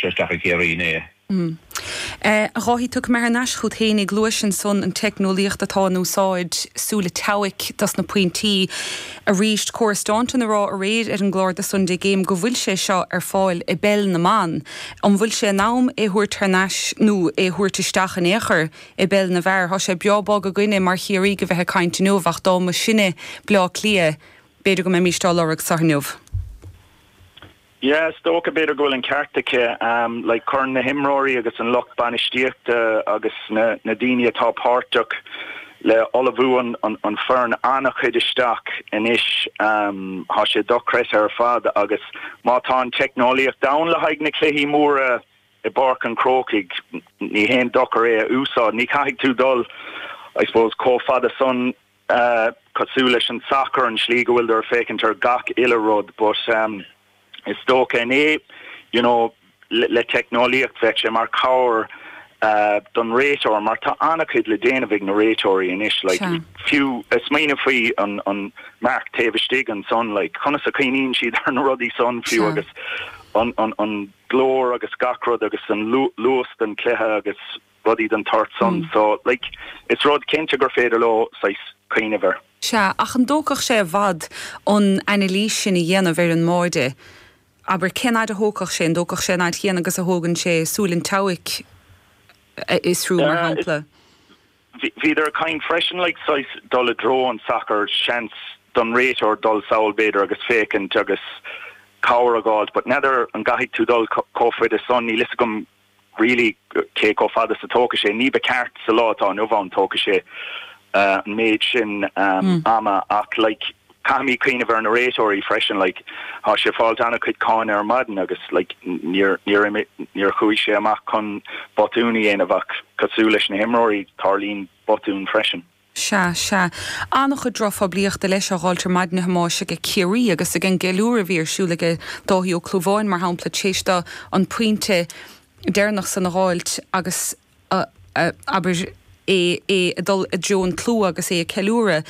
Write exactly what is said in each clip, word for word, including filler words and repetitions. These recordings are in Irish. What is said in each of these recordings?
sé isteach i Ciarraí inné. A Dháithí, tiocfaidh mé thar n-ais chugat fhéinig, luais ansan an teicneolaíocht atá in úsáid, súil an tseabhaic dos na pointí. Arís, Cora Staunton a rá aréir ar an gclár The Sunday Game go bhfuil sé seo ar fáil i bpeil na mban. An bhfuil sé in am é thabhairt thar n-ais nó é thabhairt isteach in aon chor i bpeil na bhfear? Tá sé breá bog againne mar Chiarraígh a bheith ag caint inniu ach dá mba sinne Bleá Cliath, b'fhéidir go mbeimís á lorg seo inniu. Yeah, is dócha b'fhéidir go bhfuil an ceart aici um, like cuireann na himreoirí agus an lucht bainistíochta agus na, na daoine atá páirteach le ullmhú an, an, an foireann an-chuid isteach anois um, tá sé dochreidte ar fad agus má tá an teicneolaíocht ann le haghaidh na cluichí móra i bPáirc an Chrócaigh ní haon dochar é a úsáid ní caithfidh tú dul I suppose chomh fada san uh, cosúil leis an soccer an slí go bhfuil ag féachaint ar gach uile rud but um, is dócha inné you know le, le teicneolaíocht bheadh sé mar cabhair uh, don réiteoir mar tá an-chuid le déanamh ag na réiteoirí anois like fiú smaoineamh faoi an an marc taobh istigh ansan like conas a chuimhníonn siad ar na rudaí san fiú agus an an an glór agus gach rud agus an luas den cluiche agus rudaí den tsórt san mm. so like is rud cinnte gur féidir leo cuimhneamh air. Sea ach an dtógfadh sé i bhfad an anailís sin a dhéanamh ar an mbord. Aber cén fhad a thógfadh sé an dtógfadh sé an fhad chéanna agus a thógann sé súil an tseabhaic is rú mar shampla. Bhíodar ag caint freisin like saghas dul i dtreo an soccer seans don réiteoir dul sall b'fhéidir agus féachaint agus cabhair a fháil, but n'fheadar an gcaithfidh tú dul chomh fada san níl a fhios agam really cé chomh fada is a thógfaidh sé ní ba cheart sa lá atá inniu ann tógfaidh sé uh, an méid sin um, mm. ama ach like caithfimid cuimhneamh ar na réiteoirí freisin like tá sé fáilt an-chuid cáinte ar maidin agus like níor níor níor chuaigh sé amach chun botún a dhéanamh ach cosúil leis na himreoirí tarlaíonn botún freisin. Sea sea an-chuid drochphoiblíochta leis á fháil ar maidin a Thomáis ag Ciarraí agus ag an gceiliúradh a bhí ar siúl ag Dáithí Ó Clúmháin mar shampla tar éis dó an pointe deireanach san a fháilt agus uh, uh, abair é é dul i dtreo an tslua agus é ag ceiliúradh.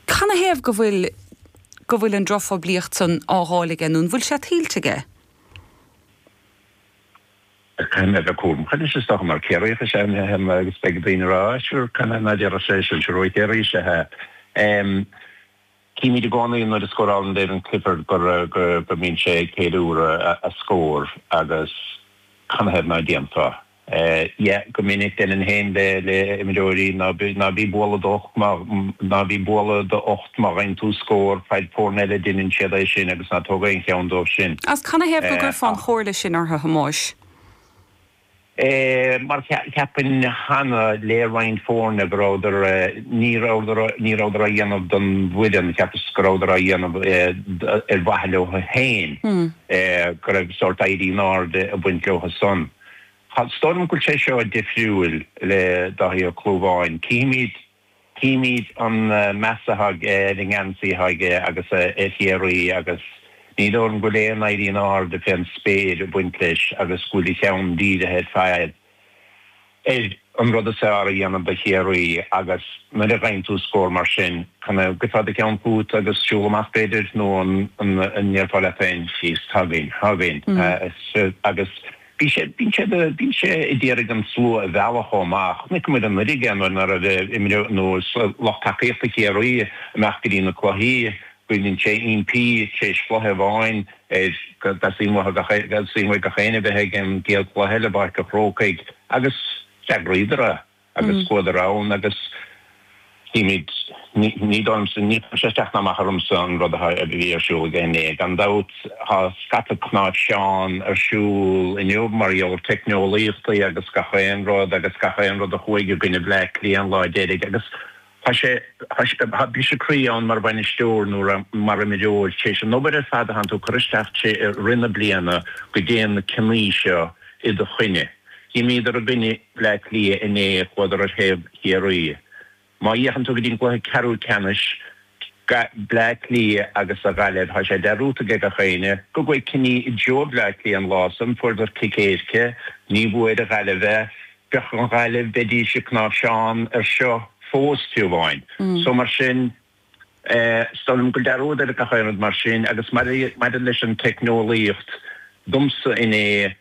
Canathaobh go bhfuil go bhfuil an drochphoiblíocht san á fháil aige nó an bhfuil sé tuillte aige? Can a bheith chu is sto mar céir sé agus be daoine rá can na dear sé sin ro céirí se Címid i gcónaí nuair a scórálann David Clifford gur go go mbíonn sé ag ceiliúradh a scór agus canathaobh ná déanfá. Yeah go minic den héin le le imreoirí ná ná bí bualadh d'ucht ná bí bualadh d'ucht má fhaigheann tú scór feid foirne eile déanann siad é sin agus ná tóg aon cheann dóibh sin. As canathaobh go gcuirfeá an chomhairle sin orthu a Thomáis? Mar ceapaim cheana le roinnt foirne go rabhadar ní rabhadar ní rabhadar á dhéanamh don bhfoireann cheapas go rabhadar á dhéanamh ar mhaithe leo féin go raibh sórt éirí in airde ag baint leo san. Is dóigh liom go bhfuil sé seo difriúil le Dáithí Ó Clúmháin. Címid címid an meas atá aige ar an ngeansaí atá aige agus ar Chiarraí agus ní dóigh liom go bhfuil aon éirí in airde fén spéir ag baint leis agus go bhfuil a cheann dírithe ar fad ar an rud is fearr a dhéanamh do Chiarraí agus nuair a fhaigheann tú scór mar sin can go fad a ceann fút agus siúl amach b'fhéidir nó an an ndéarfá leat féin síos againn againn agus bhí sé bíonn sé bíonn sé ag iarraidh an slua a mhealladh chomh maith. Chonaic muid anuraidh nuair a bhí imreoirí nó lucht tacaíochta Chiarraí amach go dtí na cluichí go mbíonn sé impí tar éis cluiche amháin ar go dteastaíonn uathu gach teastaíonn uaidh gach éinne bheith ag an gcéad chluiche eile i bPáirc an Chrócaigh agus d'eagraíodar é agus chuadar ann agus címid ní ní dóigh liomsa ní chuireann sé isteach ná amach ormsa an rud a bhí ar siúl aige inné. Gan dabht tá scata cnáimhseán ar siúl inniu mar gheall ar teicneolaíochtaí agus gach aon rud agus gach aon rud a chuaigh i gcoinne Bhleá Cliath an lá deiridh agus tá sé tá sé tá briseadh croí ann mar bhainisteoir nó mar imreoir tar éis an obair ar fad a thánn tú ag cur isteach i rith na bliana go dtéann na cinní seo i do choinne. D'imríodar i gcoinne Bhleá Cliath inné chuadar ar thaobh Chiarraí. Má fhéachann tú go dtí an cluiche ceathrú ceannais, Bleá Cliath agus an Ghaillimh, tá sé dearúdta ag gach éinne go gcuaigh cinní i dtreo Bhleá Cliath an lá san, fuaireadar cic éirice, ní bhfuair an Ghaillimh é, bheadh an Ghaillimh, bheidís ag cnáimhseán ar seo fós fiú amháin. So mar sin, is dóigh liom go bhfuil dearúd ar gach aon rud mar sin agus maidir leis an teicneolaíocht, domsa inné,